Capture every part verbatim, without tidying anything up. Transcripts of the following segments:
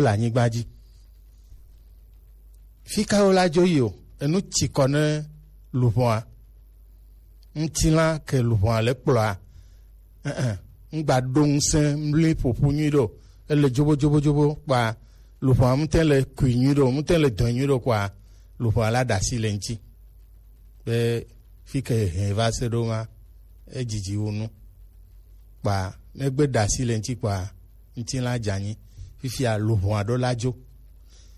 le anyigba dzi. Fi ka wo la dzo yi o? Enu tsi kɔ ne luʋɔa. Ŋutilã ke luʋɔa le kplɔa. Ɛ̃, ŋgba ɖo ŋusẽ mli ƒoƒu nyui ɖo. Ele dzobo dzobo dzobo kpa luʋɔa ŋutɛ le kui nyui ɖo, ŋutɛ le dɔn nyui ɖo kpa luʋɔa la ɖe asi le ŋuti. Be fi ke hɛn va se ɖo ma, edzidzi wu nu. Kpa megbe ɖe asi le ŋuti kpa ŋutilã dze anyi. Fifia luʋɔa ɖo la dzo.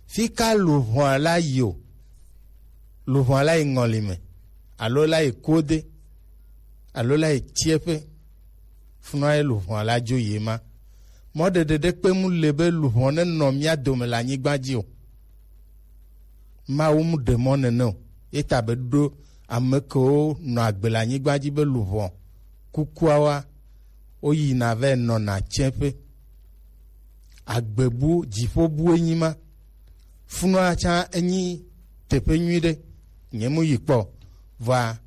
Fi ka luʋɔa la yi o? Luʋɔa la yi ŋɔli me, alo la yi kode, alo la yi tsiɛƒe. Funua ye luʋɔa la dzo yi ma. Mɔɖeɖe ɖe kpe mu le be luʋɔ ne nɔ mía dome le anyigba dzi o. Mawu mu ɖe mɔ nene o. Ye ta be ɖo ame kewo nɔ agbe le anyigba dzi be luʋɔ kukuawoa, woyina vɛ nɔna tsiɛƒe. Agbebu, dziƒobu enyi ma. Funua tsã enyi teƒe nyui ɖe. Nye mu yi kpɔ. Vɔa,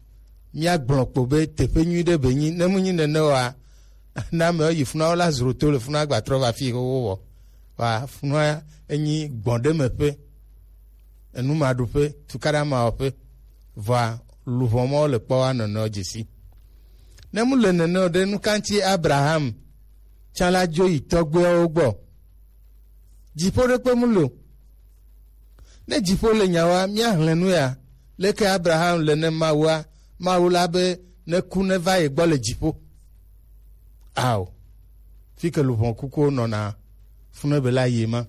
míagblɔ kpo be teƒe nyui ɖe be nyi. Ne mu nyi nene oa, ne amewo yi funua, wola zro to le funua gba trɔ va fi xoxo wɔ. Vɔa, funua enyi gbɔn ɖe me ƒe, enumaɖuƒe, tukaɖa mawɔƒe. Vɔa, luʋɔ mɔ le kpɔ wa nɔnɔ dzesi. Ne mu le nene o ɖe, nu ka ŋuti Abraham tsã la dzo yi tɔgbuiawo gbɔ? Dziƒo ɖe kpe mu le o. Ne dziƒo le nyawoa, míahlẽ nu ya. Leke Abraham le ne Mawua, Mawu la be ne ku ne va ye gbɔ le dziƒo? Ao, fi ke luʋɔ kukuwo nɔna funebe la yi ma.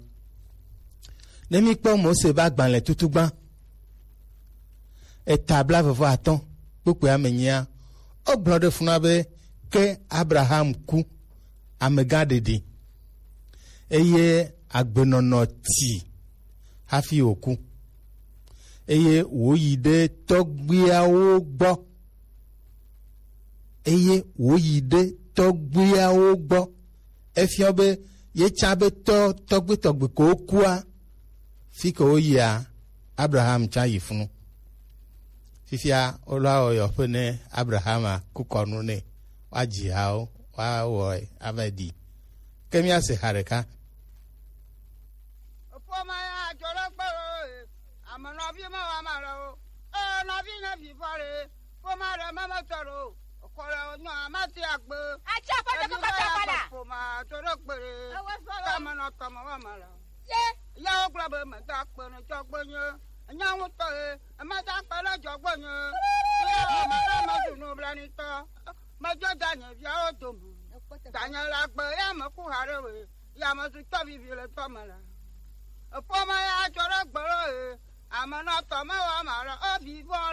Ne míkpɔ Mose be agbalẽ tutugba, eta blaeve vɔ atɔ̃ kpukpui ame nyia, wogblɔ ɖe funua be ke Abraham ku, amegã ɖeɖi, eye agbenɔnɔ ti hafi wòku, eye wòyi ɖe tɔgbuiawo gbɔ, eye wòyi ɖe tɔgbuiawo gbɔ. Efiɔ be ye tsã be tɔ tɔgbe tɔgbe ko wokua, fi ke woyia, Abraham tsã yi funu. Fifia wolo awɔ yɔƒe ne Abrahama ku kɔnu nɛ, woadzi hawo, woawɔe ava ɖi. Ke míase ha ɖeka. Ƒome ya dzo ɖe kpe ɖo, e, ame nɔvi me wa ma le o. E, nɔvi nye vi vɔ le. Ƒome ɖe me me tɔ ɖo. Ekɔ le nyɔ amasi agbe. Atsi aƒe ɖe kɔkɔ tɔ kɔ la. Ƒome dzo ɖe kpe ɖe. Ewe fɔ le. Tame nɔ tɔme wa ma le. Ye. Ya wo gblɔ be me da kpe ne tɔgbe nye. Enya ŋutɔ ye. Ema da kpe ne dzɔgbe nye. Ya me la me zu nublanitɔ. Me dzo da nye viawo dome. Da nye le agbe ya me ku ha ɖe we. Ya me zu tɔ vivi le tɔ me la. Eƒome ya dzo ɖe gbe ɖo ye. Ame nɔ tɔme wa ma le. O vi vɔ.